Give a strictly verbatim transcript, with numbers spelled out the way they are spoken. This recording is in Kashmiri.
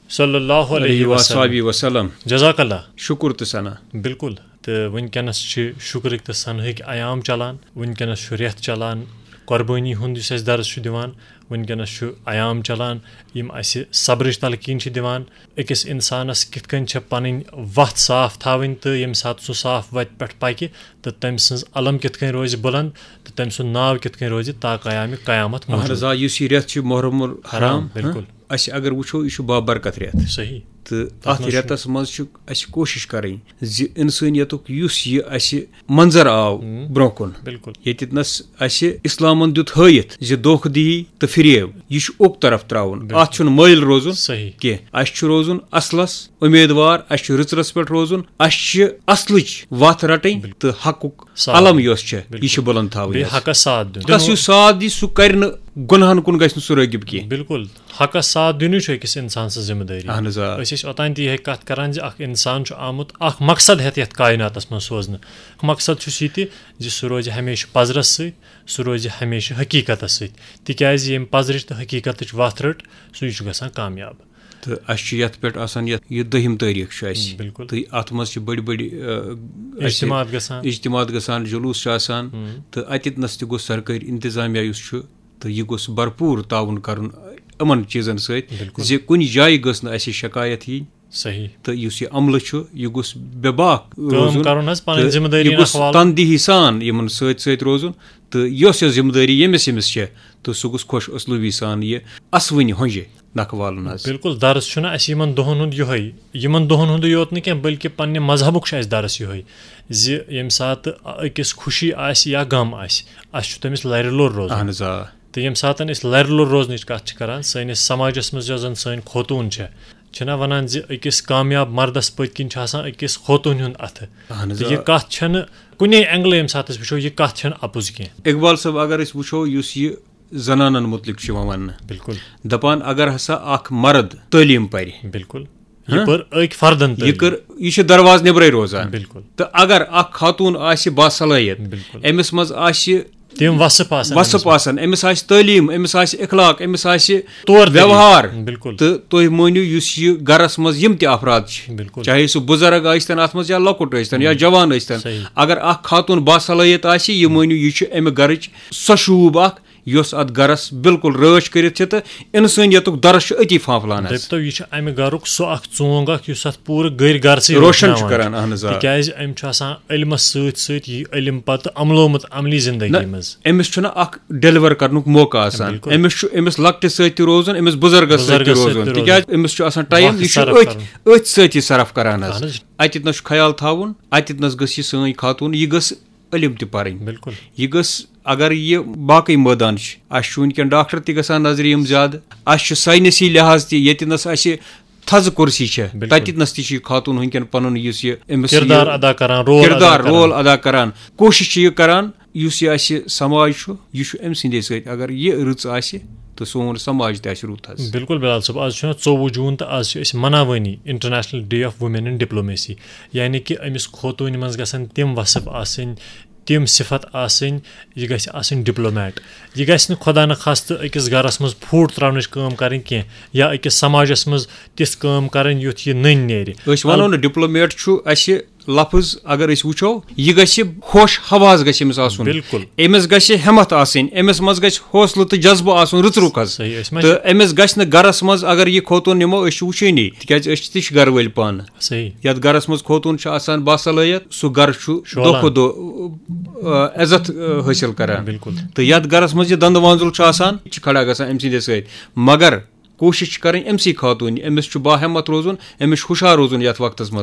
صلی اللہ علیہ علیہ وسلم۔ وصحبہ وسلم۔ جزاک اللہ۔ شکر تہٕ ثنا۔ بالکل۔ تہٕ وٕنکیٚنَس چھِ شُکرٕکۍ تہٕ ثناہٕکۍ ایام چلان، وٕنکیٚنَس چھُ رٮ۪تھ چلان، قۄربٲنی ہُنٛد یُس اَسہِ درس چھُ دِوان، وٕنکیٚنَس چھُ ایام چلان یِم اَسہِ صبرٕچ تلقیٖن چھِ دِوان۔ أکِس اِنسانَس کِتھ کٔنۍ چھےٚ پَنٕنۍ وَتھ صاف تھاوٕنۍ، تہٕ ییٚمہِ ساتہٕ سُہ صاف وَتہِ پٮ۪ٹھ پَکہِ تہٕ تٔمۍ سٕنٛز علم کِتھ کٔنۍ روزِ بُلنٛد تہٕ تٔمۍ سُنٛد ناو کِتھ کٔنۍ روزِ تا قیامِ قیامت اہن موٗجوٗد۔ حظ، آ، یُس یہِ رٮ۪تھ چھُ محرم الحرام، حرام، بالکل۔ ہاں، أسۍ اگر وٕچھو، یہِ چھُ بابرکت رٮ۪تھ۔ صحیح۔ تہٕ تَتھ اَتھ منٛز چھُ رٮ۪تَس منٛز چھُ اَسہِ کوٗشِش کَرٕنۍ زِ اِنسٲنیتُک یُس یہِ اَسہِ منظر آو ہُم۔ برونٛہہ کُن، بالکل۔ ییٚتٮ۪تھ نَس اَسہِ اِسلامَن دیُت ہٲیِتھ زِ دھوکہٕ دِہی تہٕ فریب، یہِ چھُ اوٚک طرف ترٛاوُن۔ بالکل۔ اَتھ چھُنہٕ مٲیِل روزُن صحیح۔ کینٛہہ۔ اَسہِ چھُ روزُن اَصلَس اُمیدوار، اَسہِ چھُ رٕژرَس پٮ۪ٹھ روزُن، اَسہِ چھِ اَصلٕچ وَتھ رَٹٕنۍ بالکل۔ تہٕ حقُک صاف۔ علم یۄس چھےٚ، بالکل۔ یہِ چھِ بُلنٛد تھاوٕنۍ بیٚیہِ حظ۔ حقس ساتھ دیُن۔ حقس یُس ساتھ دی، سُہ کَرِ نہٕ گۄناہَن کُن گژھِ نہٕ سُہ رٲغِب کینٛہہ۔ بالکل۔ حقس ساتھ دیُنٕے چھُ أکِس اِنسان سٕنٛز ذمہٕ دٲری۔ اہن حظ، آ۔ أسۍ ٲسۍ اوٚتام تہِ یِہے کَتھ کَران زِ اَکھ اِنسان چھُ آمُت اَکھ مقصد ہٮ۪تھ یَتھ کایناتَس منٛز سوزنہٕ۔ اَکھ مقصد چھُس یہِ تہِ زِ سُہ روزِ ہمیشہِ پَزرَس سۭتۍ، سُہ روزِ ہمیشہِ حقیٖقتَس سۭتۍ، تِکیٛازِ ییٚمہِ پَزرٕچ تہٕ حقیٖقتٕچ وَتھ رٔٹ، سُے چھُ گژھان کامیاب۔ تہٕ اَسہِ چھُ یَتھ پٮ۪ٹھ آسان، یَتھ یہِ دٔہِم تٲریٖخ چھُ اَسہِ۔ بالکل۔ تہٕ اَتھ منٛز چھِ بٔڑۍ بٔڑۍ، آ، اَسہِ اجتماعات گژھان۔ اجتماعات گژھان، جلوٗس چھُ آسان۔ ہُم۔ تہٕ اَتٮ۪تھ نَس تہِ گوٚژھ سرکٲرۍ انتظامیہ یُس چھُ، تہٕ یہِ گوٚژھ بھرپوٗر تعاوُن کَرُن یِمَن چیٖزَن سۭتۍ، بالکل۔ زِ کُنہِ جایہِ گٔژھ نہٕ اَسہِ شکایت یِنۍ۔ صحیح۔ تہٕ یُس یہِ عملہٕ چھُ، یہِ گوٚژھ بے باک کٲم روزُن۔ کَرُن حظ، پَنٕنۍ تہٕ ذمہٕ دٲری یہِ گوٚژھ نَکھٕ والُن۔ تندیہی سان یِمَن سۭتۍ سۭتۍ روزُن۔ تہٕ یۄس یۄس ذمہٕ دٲری ییٚمِس ییٚمِس چھےٚ، تہٕ سُہ گوٚژھ خۄش اُسلوٗبی سان یہِ اَسوٕنہِ ہۄنجہِ نَکھٕ والُن حظ۔ بالکل، درس چھُنہٕ اَسہِ یِمن دۄہن ہُنٛد یِہوٚے، یِمن دۄہن ہُنٛدُے یوت نہٕ کینٛہہ، بلکہِ پننہِ مذہبُک چھُ اَسہِ درس یِہوٚے زِ ییٚمہِ ساتہٕ أکِس خوشی آسہِ یا غم آسہِ، اَسہِ چھُ تٔمِس لرِ لوٚر روزُن۔ اہن حظ، آ۔ تہٕ ییٚمہِ ساتہٕ أسۍ لرِ لوٚر روزنٕچ کَتھ چھِ کَران، سٲنِس سماجَس منٛز یۄس زَن سٲنۍ خوتوٗن چھےٚ، چھِنہ وَنان زِ أکِس کامیاب مردَس پٔتۍ کِنۍ چھُ آسان أکِس خوتوٗنہِ ہُنٛد اَتھٕ۔ اہن حظ، تہٕ آ۔ یہِ کَتھ چھَنہٕ کُنے اینگلہٕ ییٚمہِ ساتہٕ أسۍ وٕچھو، یہِ کَتھ چھَنہٕ اَپُز کینٛہہ۔ اقبال صٲب، اگر أسۍ وٕچھو، یُس یہِ زنانن مُتعلِق چھُ یِوان وننہٕ، بالکل۔ دپان اگر ہسا اکھ مرد تعلیٖم پرِ، بالکل۔ ہاں؟ یہِ پٔر أکۍ فردن یہِ تعلیٖم۔ کٔر، یہِ چھِ دروازٕ نیبرے روزان۔ بالکل۔ تہٕ اگر اکھ خاتون آسہِ باصلٲحیت، بالکل۔ أمِس منٛز آسہِ تِم وصف آسن وصف أمِس منٛز۔ آسن، أمِس آسہِ تعلیٖم، أمِس آسہِ اخلاق، أمِس آسہِ طور طریٖقہٕ۔ ویوہار، بالکل۔ تہٕ تُہۍ مٲنِو یُس یہِ گرس منٛز یِم تہِ افراد چھِ، بالکل۔ چاہے سُہ بُزرگ ٲسۍتن اتھ منٛز یا لۄکُٹ ٲسۍتن یا جوان ٲسۍتن، صحیح۔ اگر اکھ خاتون باصلٲحیت آسہِ، یہِ مٲنِو یہِ چھُ امہِ گرٕچ سۄ شوٗب اکھ یۄس اتھ گرس بالکل رٲچھ کٔرِتھ چھِ، تہٕ انسٲنیتُک درس چھُ أتی پھانپھلان حظ۔ دٔپتو، یہِ چھُ امہِ گرُک سُہ اکھ ژونگ اکھ یُس اتھ پوٗرٕ گٔرۍ گرسٕے روشن چھُ وٕشناوان کران، اہن حظ، آ۔ تِکیازِ أمۍ چھُ آسان علمس سۭتۍ سۭتۍ یہِ علم پتہٕ عملومُت عملی زندگی نہ، منٛز۔ أمِس چھُنہٕ اکھ ڈیلیور کرنُک موقع آسان۔ بالکل۔ أمِس چھُ، أمِس لۄکٹِس سۭتۍ تہِ روزُن، أمِس بُزرگس سۭتۍ تہِ بُزرگس سۭتۍ روزُن، تہِ تِکیازِ أمِس چھُ آصرف کرُن۔ وقت صرف کرُن۔ أتھۍ سۭتۍ چھُ صرف کران حظ۔ اہن حظ۔ اتٮ۪تھ نس چھُ خیال تھاوُن، اتٮ۪تھ نس گٔژھ یہِ سٲنۍ خاتون، یہِ گٔژھ علم تہِ پرٕنۍ۔ بالکل۔ یہِ گٔژھ، اگر یہِ باقٕے مٲدان چھِ، اسہِ چھُ وٕنکیٚن ڈاکٹر تہِ گژھان نظرِ یِم زیادٕ، اسہِ چھُ ساینسی لحاظ تہِ، ییٚتہِ نس اسہِ تھزٕ کُرسی چھےٚ، بالکل۔ تتہِ نس تہِ چھِ یہِ خاتون وٕنکیٚن پنُن یُس یہِ أمِس یہِ کردار ادا کران، رول ادا کردار، کران۔ رول ادا کران، کوٗشش چھِ یہِ کران، یُس یہِ اسہِ سماج چھُ، یہِ چھُ أمۍ سٕنٛدے سۭتۍ۔ اگر یہِ رٕژ آسہِ، تہٕ سون سماج تہِ آسہِ رُت حظ۔ بالکل بلال صٲب، آز چھُنہ ژوٚوُہ جوٗن تہٕ آز چھِ أسۍ مناوٲنی International Day of Women in Diplomacy، یعنی کہِ أمِس خوتوٗنہِ منٛز گژھن تِم وصف آسٕنۍ، تِم صفت آسٕنۍ، یہِ گژھِ آسٕنۍ ڈپلومیٹ۔ یہِ گژھِ نہٕ خۄدا نخواستہٕ أکِس گرس منٛز پھوٗٹ تراونٕچ کٲم کرٕنۍ کینٛہہ یا أکِس سماجس منٛز تِژھ کٲم کرٕنۍ یُتھ یہِ نٔنۍ نیرِ۔ أسۍ ونو نہٕ ڈپلومیٹ چھُ اسہِ لفظ، اگر أسۍ وٕچھو، یہِ گژھِ ہوش حواس گژھِ أمِس آسُن۔ بالکل۔ أمِس گژھِ ہمت آسٕنۍ، أمِس منٛز گژھِ حوصلہٕ تہٕ جذبہٕ آسُن رٕژ رُکھ حظ۔ صحیح، أسۍ ما تہٕ أمِس گژھِ نہٕ گرس منٛز، اگر یہِ خوتون نِمو، أسۍ چھِ وٕچھٲنی، تِکیازِ أسۍ تہِ چھِ گرٕ وٲلۍ پانہٕ۔ صحیح۔ یتھ گرس منٛز خوتون چھُ آسان باصلٲحیت، سُہ گرٕ چھُ دۄہ شولان۔ کھۄتہٕ دۄہ، آ، عزت، آ، حٲصِل کران۔ بالکل۔ تہٕ یتھ گرس منٛز یہِ دندٕ وانزُل چھُ آسان، یہِ چھُ کھڑا گژھان أمۍ سٕنٛدِ سۭتۍ۔ مگر کوٗشِش چھِ کرٕنۍ أمۍ سٕے خاتوٗنہِ، أمِس چھُ باہمت روزُن، أمِس چھُ ہُشار روزُن یتھ وقتس منٛز۔